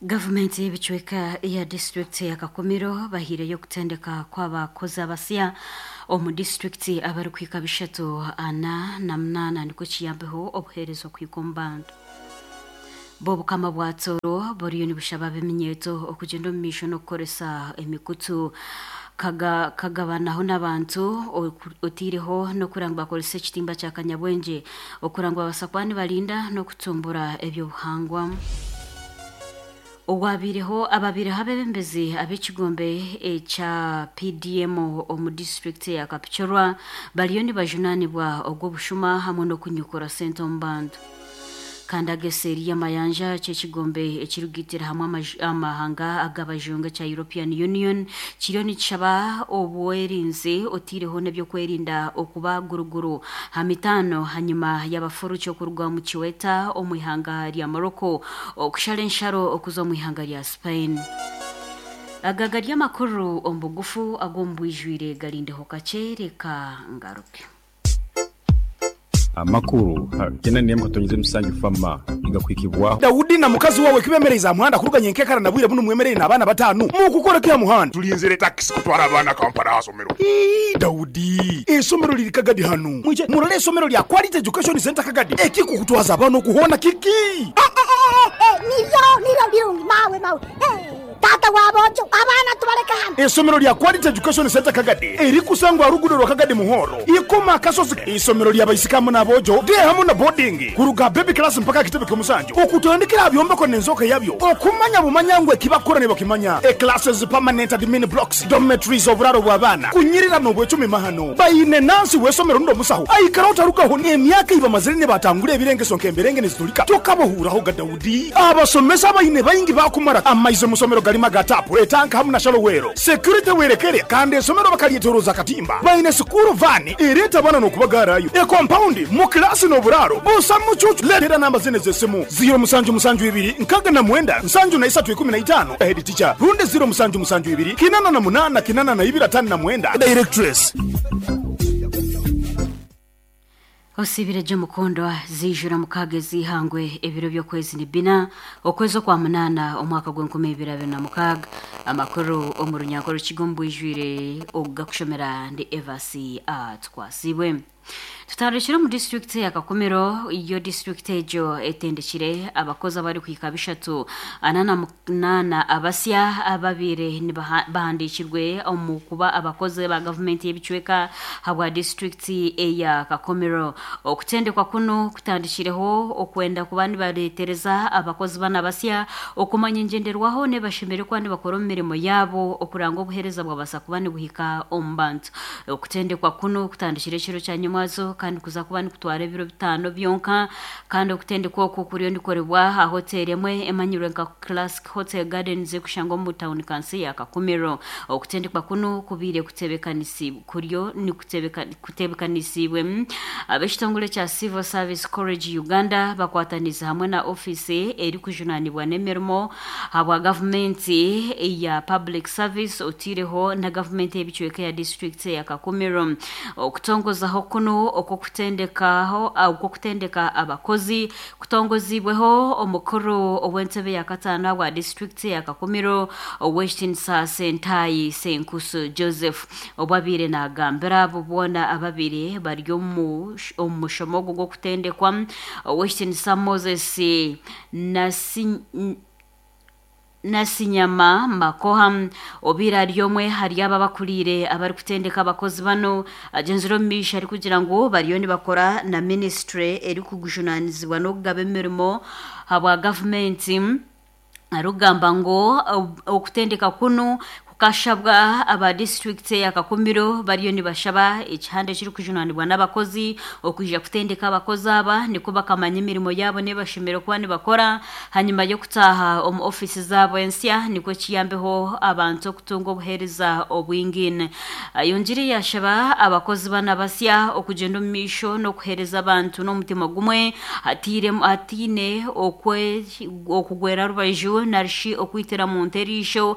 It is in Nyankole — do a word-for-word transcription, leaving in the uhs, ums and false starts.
Gavumenti y'ebicweka eya disitulikiti ya Kakumiro bahiireyo okutendeka kw'abakozi abasya omu disitulikiti abarikuhika bishatu ana na munaana nikwo kiyambeho obuheereza okuhika omu bantu. B'obukama bwa Tooro buriyo nibushaba ab'eminyeeto okugyenda omu maisho n'okukoresa emikutu kaga, kagabanaho n'abantu oteireho n'okuranga ngu bakoresa ekitimba kya kanyabwengye okuranga ngu babaasa kuba nibarinda n'okutumbura eby'obuhangwa. Owabaireho ababaireho abeebembezi ab'ekigombe ekya P D M omu disitulikiti ya Kapchorwa bariyo nibajunaanibwa ogw'obushuma hamwe n'okunyukura sente omu bantu. Kandi ageseeri y'amayanja ky'ekigombe ekirikugaitira hamwe amahanga ag'abajungu ekya European Union kiriyo nikishaba obwerinzi oteireho n'ebyokwerinda okuba guruguru ha mitaano hanyuma y'abafuruki okuruga omu Ceuta omu ihanga rya Morocco okushara ensharo okuza omu ihanga rya Spain. Aga gari amakuru omu bugufu ag'omu bwijwire garindeho kakye reka ngaruke. Amakuru kyenda n'emwe katonyeze musanju fama igakwikibwaho. Dawudi na mukazi wawe kibemereza muhanda kuruganya enkekara na bwire buno mwemerere n'abaana batanu mukukora kya muhanda. Tulinzire takisi kutwara abaana Kampala hasomero. Ii, Dawudi, esomero liri Kagadi hanu mwije murole esomero lya Quality Education Center Kagadi ekikukutwaza abaana okuhona kiki. Niryo niryo birungi mawe mawe. Tata wabojo abaana tubaleka hano. Esomero lya Quality Education Center Kagadi erikusangwa rugudo rwa Kagadi Muhoro ikoma akasozi isomero lya baisikamu n'abojo de hamu na boarding kuruga baby class mpaka kitebe ky'omusanju okutandikira byombeko n'enzoka yabyo okumanya bumanya ngu ekibakora ne bakimanya e classes, permanent admin blocks, dormitories, oburaro bw'abaana kunyirira n'obwecumi mahano bayine nansi w'esomero ndo musaho aikara otarugaho emyaka ibamazire ne batangura ebirengeso nk'emberenge nizitulika tokabohuraho ga Dawudi abasomesa bayine bayingi bakumara amaize musomero galima ga tapu etanka hamu na shallow well security werekere kandi esomero bakalyetoroza katimba bayine school van ereta abana n'okubagarayo e compound mu kilasi n'oburaro busa mucucu letera namba zine z'esimu ziro musanju musanju ibiri nkaga na mwenda nsanju na isatu ikumi na itano head teacher rundi ziro musanju musanju ibiri kinana na munana kinana na ibiri atano na mwenda directress. Osibire mukundwa zijura mukaaga ezihangwe ebiro by'okwezi ni bina okwezi okwa munaana omwaka gw'enkumi ibiri abiri na mukaaga. Amakuru omu runyankore rukiga omu bwijwire ogugakushomera ndi Evasi Atwasibwe. Tutandikire omu disitulikiti ya Kakumiro. Iyo disitulikiti egyo etendekire abakozi abarikuhika bishatu ana na munaana abasya ababiire bahandiikirwe omu kuba abakozi ba gavumenti y'ebicweka habwa disitulikiti eya Kakumiro. Okutendekwa kuno kutandikireho okwenda kuba nibareetereza abakozi bana abasya okumanya engyenderwaho nebashemere kuba nibakora omu mirimo yaabo okuranga obuheereza bwabasa kuba nibuhika omu bantu. Okutendekwa kuno kutandikire ekiro kya nyamwazo kandi kuza kuba nikutwara ebiro bitaano byonka. Kandi okutendekwa oku kuriyo nikukorebwa aha hoteri emwe emanyirwe nka Classic Hotel Gardens ekushangwa omu tawuni kansi ya Kakumiro. Okutendekwa kuno kubiire kutebekanisi kuriyo nikutebekanisiibwe ab'ekitongore kya Civil Service College Uganda bakwataniza hamwe na ofiisi erikujunanibwa n'emirimo habwa gavumenti ya public service otiireho na gavumenti y'ebicweka ya disitulikiti ya Kakumiro. Okutongozaho kuno okw'okutendekaho okw'okutendeka abakozi kutongozibweho omukuru ow'entebe ya kataano wa disitulikiti ya Kakumiro, ow'ekitinisa Sentayi Senkusu Joseph, obwabiire nagambira abo boona ababiri bari omu omu mushomo ogwo gw'okutendekwa. Ow'ekitinisa Moses Nasi Nasinyama Makoha obiire ari omwe hari aba abakuriire abarikutendeka abakozi bano agyenzire omu maisho arikugira ngu bariyo nibakora na minisitule erikujunanizibwa n'okugaba emirimo habwa gavumenti arikugamba ngu okutendeka kunu kukashabwa aba disitulikiti ya Kakumiro bariyo nibashaba ekihanda ekirikujunanibwa n'abakozi okwija kutendeka abakozi aba niko bakamanya emirimo yaabo nebashemere kuba nibakora hanyuma y'okutaaha omu ofiisi zaabo ensya nikwo kiyambeho abantu okutunga obuheereza obwingine. Ayongire yashaba abakozi bana basya okugyenda omu maisho n'okuheereza abantu n'omutima gumwe hatiire hatiine okwe okugwera rubaju narishi okwitira muntu eriisho.